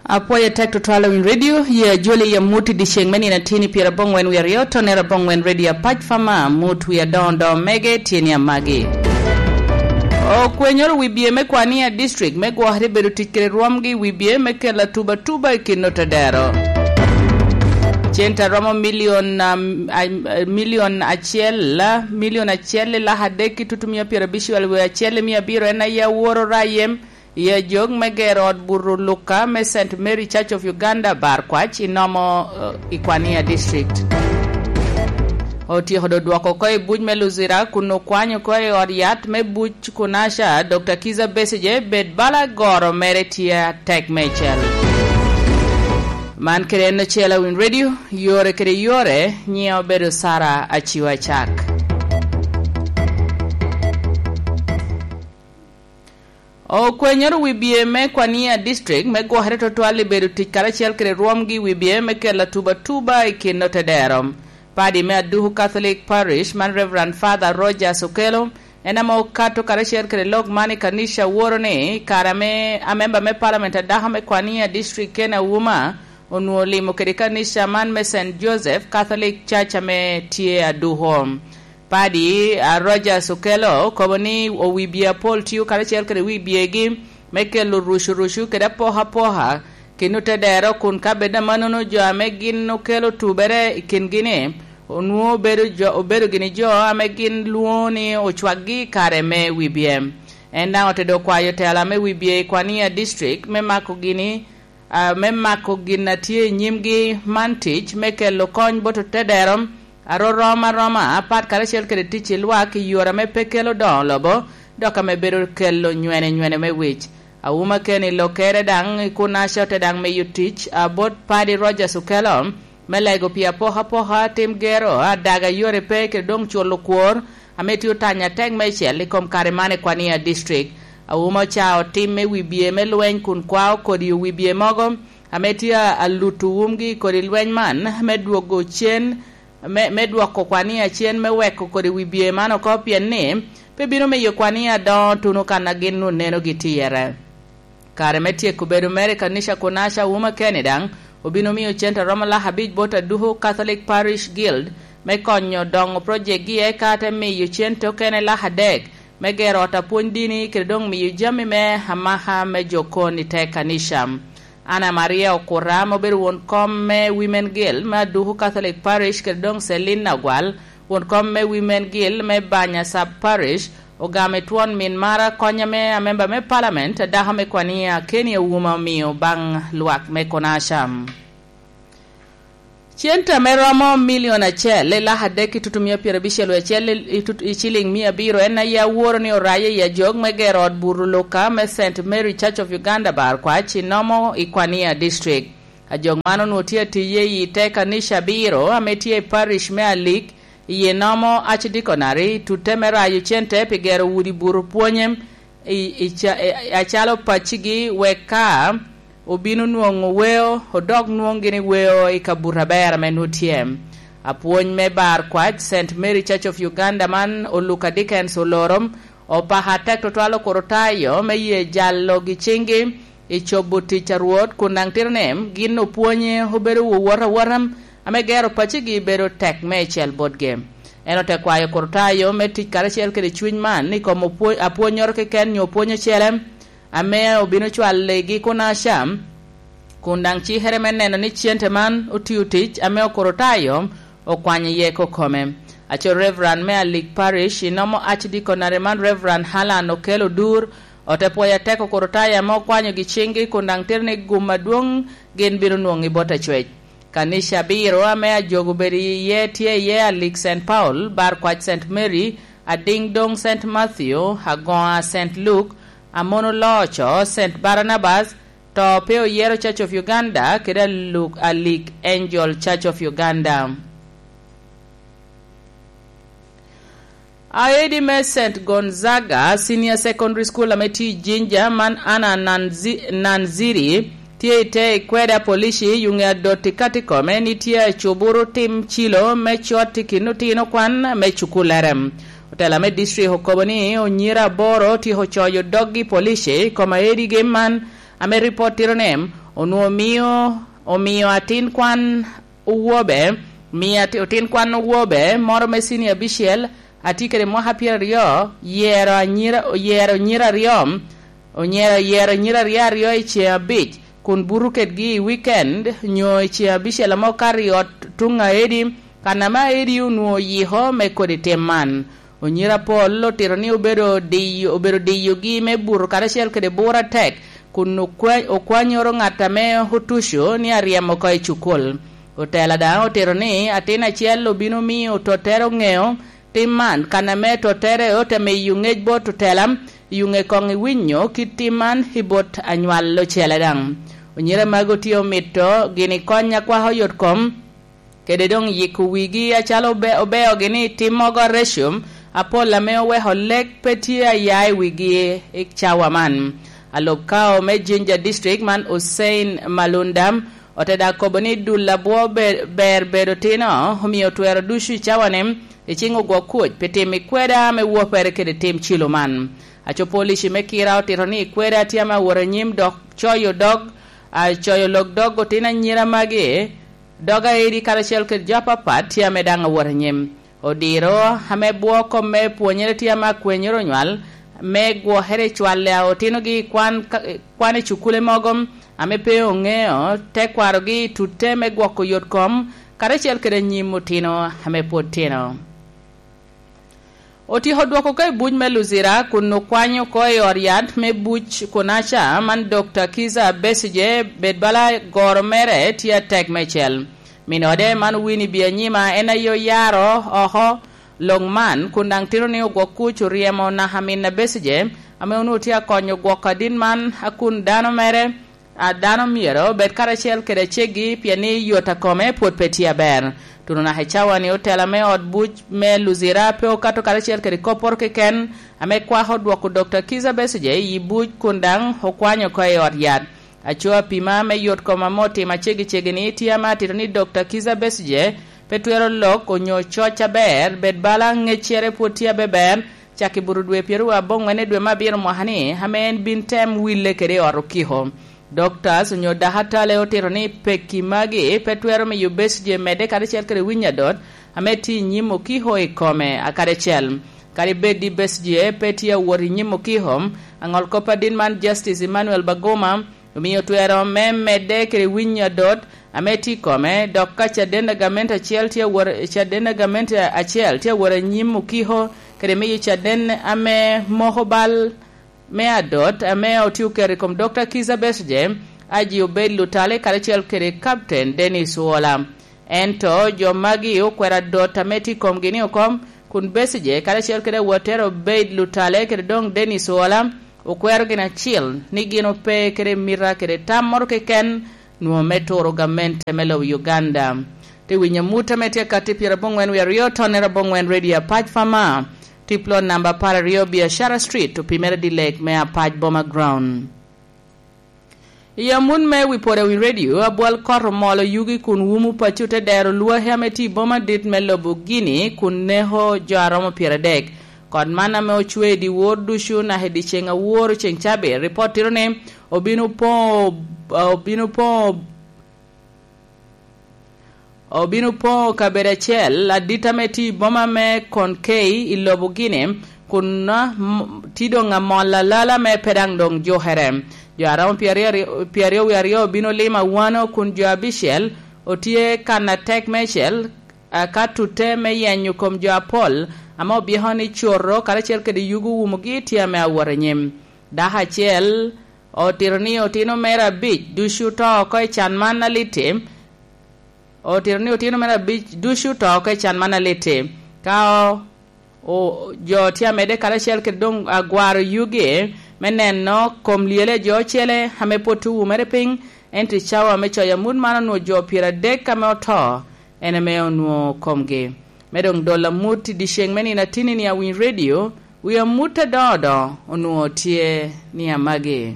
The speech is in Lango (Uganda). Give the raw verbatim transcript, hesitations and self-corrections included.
Apwoyo atek tutwal Awiny Radio, ye ajoli i amut i dyeceŋ me nino atini pyerabongwen wie aryo, tonere abongwen Radio Apac Fama, amut wie adoŋo doŋo mege tye ni amagi. Okwenyoro wi bye me Kwania District me gwokere bedo tic kede rwomgi wi bye me kelo atuba atuba i kin otedero. Cente a romo milion, um, a-, milion acel, milion acel i lak adek ki tutumia pyerabicel wie acel i mia abiro en aye aworo rayem i ajok me gero ot buto Luka me Saint Mary Church of Uganda, Bar Kwac, i nomo, eh, i Kwania District. Otyeko do dwoko oko i buc me Luzira kun okwanyo oko i ot yat me buc Kunasha, Dokta Kiza Besigye, bed bala goro mere tye atek meicel. Man kede en ocel Awiny Radio, yore kede yore, nyiŋa obedo Sara Aciwa Cak. Okwenyoro wi bye me Kwania District me gwokere tutwal i bedo tic karacel kede rwomgi wi bye me kelo atuba atuba i kin otedero. Padi me Aduku Catholic Parish man Reverend Father Rogers Okello en ame okato karacel kede lok man i kanica woro ni i kare ame amemba me Parliament adaka me Kwania District Ken Auma onwoŋo olimo kede kanica man me Saint Joseph Catholic Church ame tye Aduku. Padi, a, Rogers Okello okobo ni owibye apol tio karacel kede wibyegi me kelo rucurucu kede apokapoka kin otedero, kun ka bed amannono jo ame gin okelo tubere i kingi-ni onwoŋo obedo jo, obedo gini jo ame gin lwoŋo ni ocwakgi i kare me wibye. En daŋ otedde okwayo tela me wibye i Kwania District me mako gini a, me mako gin a tye i nyimgi man tic me kelo kony bot otedero a rorom aroma apat karacel kede tic i lwak i yore ame pe kelo doŋo lobo, dok ame bedo kelo nywene nywene me wic. Auma Kenny Lokere daŋ i Kunaca ote daŋ miyo tic, a, bot Padi Rogers Okello me lego pi apokapoka, tim gero, adaga yore pe kede doŋ culo kwor, ame tye otanyo atek meicel i kom kare man i Kwania District. Auma ocao tim me wibye me lweny kun kwao kodi wibye mogo ame tye a, a luto wumgi i kodi lweny man me dwogo cen, me, me dwoko Kwania cen me weko kodi wibye man oko, pien ni pe bino miyo Kwania doŋo tuno kan a gin onenogi tye iye. Kare me tyeko bedo mere i kanica Kunaca Auma Kenny daŋ obino miyo cente a romo lak abic bot Aduku Catholic Parish Guild me konyo doŋo project-gi, eka te miyo cente okene lak adek me gero ot apwony dini kede doŋ miyo jami me amaka me jo kon i te kanica. Anna Maria Okura ame obedo won kom me Women Guild me Aduku Catholic Parish kede doŋ Celine Nagwal, won kom me Women Guild me Banya Sub Parish, ogamo i twon min mara kony ame amemba me Parliament adako me Kwania Kenny Auma omio baŋ lwak me Kunaca. Cente ame romo milion acel i lak adek ki tutumia pyerabicel wie acel i, i tut-, i ciliŋ mia abiro en aye aworo ni oraye i ajok me gero ot buto Luka me Saint Mary Church of Uganda Bar Kwac i nomo i Kwania District. Ajok man onwoŋo tye atiye i te kanica abiro ame tye i parish me Alik, iye nomo Archdeaconry, tute me rayo cente pi gero udi buto pwonye i, i ca-, i, acalo paccigi, wek ka obino nwoŋo weo, odok nwoŋ gini weo i kabuto aber ame nwoŋo tye. Apwony me Bar Kwac Saint Mary Church of Uganda man, Oluka Dickens Oloro, opako atek tutwal Okorotayo me ye jalo gi ciŋgi i cobo tic a Rwot, kun daŋ tito ni gin opwonye obedo wowot awota, ame gero paccigi bedo tek meicel botgi. En ote kwayo Okorotayo me tic karacel kede cuny man i kom opwo-, apwonnyoro keken nyo opwony ocele, ame obino cwaligi Kunaca, kun daŋ cikere me neno ni cente man otio tic ame Okorotayo okwanyo iye kokome. Aco Reverend me Alik Parish i nomo Archdeaconry man, Reverend Halan Okello Odur, ote pwoyo atek Okorotayo ame okwanyogi ciŋgi, kun daŋ tito ni gum adwoŋ gin bino nwoŋo i bot acwec. Kanica abiro ame ajogo obedo iye tye iye Alik Saint Paul, Bar Kwac Saint Mary, Adiŋ Doŋ Saint Matthew, Agoŋa Saint Luke, Amono Looco Saint Barnabas, To pe oyero Church of Uganda kede aluk-, Alik Angel Church of Uganda. Aedi me Saint Gonzaga Senior Secondary School ame tye i Jinja man Anna Nanzi-, Nanziri tye i te ikwede apolici i yuŋe adot i kati kome ni tye acuburu tim cilo me cot i kin otino kwan me cukullere. Otela me district okobo ni onyira aboro otyeko coyo doggi i polici i kom aedigi man, ame ripot tito ni Onwoŋo omio, omio atin kwan owobe, omio ati-, otin kwan owobe moro me cinia abicel, a tye kede mwaka pyeraryo, yero anyira, oyero nyira aryo, onyero, oyero nyira aryo aryo i ceŋ abic, kun buto kedgi i wikend, nyo i ceŋ abicel ame okato i ot tuŋ aedi, kan ame aedi onwoŋo oyiko me kodi tim man. Onyira Apol otito ni obedo diyo, obedo diyogi me buto karacel kede bur atek, kun okwa-, okwanyoro ŋat ame otuco ni aryemo oko i cukul. Otela daŋ otito ni atin acel obino miyo tottere oŋeo tim man, kan ame tottere ote miyo ŋec bot otela, i oŋe koŋ iwinyo kit tim man i bot anywal ocele daŋ. Onyira magi otye omito gini kony akwako yot kom, kede doŋ yiko wigi acalo obe-, obeogi ni tim mogo areco apol ame oweko lek pe tye aya i wigi i cawa man. Alub kao me Jinja District man Hussein Malunda ote dak kobo ni dul abwo be-, ber bedo tino, omio twero ducu i cawa-ni icing ogwok kuc pi tim i kweda ame wopere kede tim cilo man. Aco polici me kira otito ni kweda tye ame awot anyim dok coyo dog, a, coyo lok dog otino anyira magi, dog aedi karacel kede jo apapat tye ame daŋ awot anyim. Odiro ame bwo kom me pwonyere tye ame akwenyere onywal, me gwokere i cwale a otinogi i kwan ka, kwan i cukule mogo ame pe oŋeo tekwarogi i tutte me gwoko yot kom, karacel kede anyim otino ame pwod tino. Otyeko dwoko oko i buc me Luzira kun okwanyo oko i ot yat me buc Kunaca man Dokta Kiza Besigye bed bala goro mere tye atek meicel. Min ode man Winnie Byanyima en aye oyaro oko lok man kun daŋ tito ni ogwok kuc oryemo naka min a Besigye ame onwoŋo tye akonyo gwoko adit man a kun dano mere a dano myero obed karacel kede aceggi pien ni yot a kome pwod pe tye aber. Tuno naka i cawa-ni otela me ot buc me Luzira pe okato karacel kede kopporo keken ame kwako dwoko Dokta Kiza Besigye i buc kun daŋ okwanyo oko i ot yat. Aco apima me yot kom ame otimo aceggi-ceggi-ni tye ame atito ni Dokta Kiza Besigye pe twero lok onyo coc aber, bed bala ŋeccere pwod tye abeber, cak i buto dwe pyeraryo aboŋwen i dwe me abiro mwaka-ni, ame en bin tem wille kede i ot okiko. Doctors onyo dakatale otito ni pekki magi pe twero miyo Besigye medde karacel kede winyo adot ame tye i nyim okiko i kome akadi acel. Kadi bed ni Besigye pe tye awot i nyim okiko, aŋol kop adit man Justice Emmanuel Baguma omio twero me medde kede winyo adot ame tye i kome, dok ka caden a gamente acel tye awot, caden a gamente acel tye awot anyim okiko, kede miyo caden ame moko bal me adot ame otye oketo i kom Dokta Kiza Besigye, aji obed Lutale karacel kede Captain Dennis Wola. Ento jo magi okwero adot ame tye i komgi ni okom, kun Besigye karacel kede awottere obed Lutale kede doŋ Dennis Wola, okwero gin acil ni gin ope kede mita kede tam moro keken nwoŋo me turo gamente me lobo Uganda. Te winyo amut ame tye akatti pyeraboŋwen wie aryo tonnere aboŋwen Radio Apac Fama, tip lot namba apar aryo Biashara Street, opimere dilek me Apac Boma Ground. I amut me wi pwod wi redio, abwal kot omolo yugi kun wumo paco te dero lwaki ame tye i boma dit me lobo Guinea kun neko jo a romo pyeradek. Kot man ame ocwe i dyewor ducu naka i dyeceŋ awor ceŋ cabit, ripot tito ni obino poŋo, obino poŋo, obino poŋo kabedo acel adit ame tye i boma me Konkei i lobo Guinea, kun, ah, m-, tye doŋ amol alala me pe daŋ doŋ jukere. Jo a romo pyeraryo, pyeraryo wie aryo obino limo awano kun jo abicel otye kan atek meicel, a, ka tutte me yenyo kom jo apol ame obyeko ni coto karacel kede yugo wumogi tye ame awot anyim. Dako acel otito ni otino mere abic ducu oto oko i can man alitti, otito ni otino mere abic ducu oto oko i can man alitti. Ka o-, o-, jo tye amedde karacel kede doŋ agwaro yugi me neno kom lyele a jo ocele ame pwod tye owumere piny, ento i cawa me coyo amut man onwoŋo jo pyeradek ame oto, en ame onwoŋo komgi. Me doŋ dolo amut i dyeceŋ me nino atinni-ni awiny redio, wi amut adoŋo doŋo onwoŋo tye ni amagi.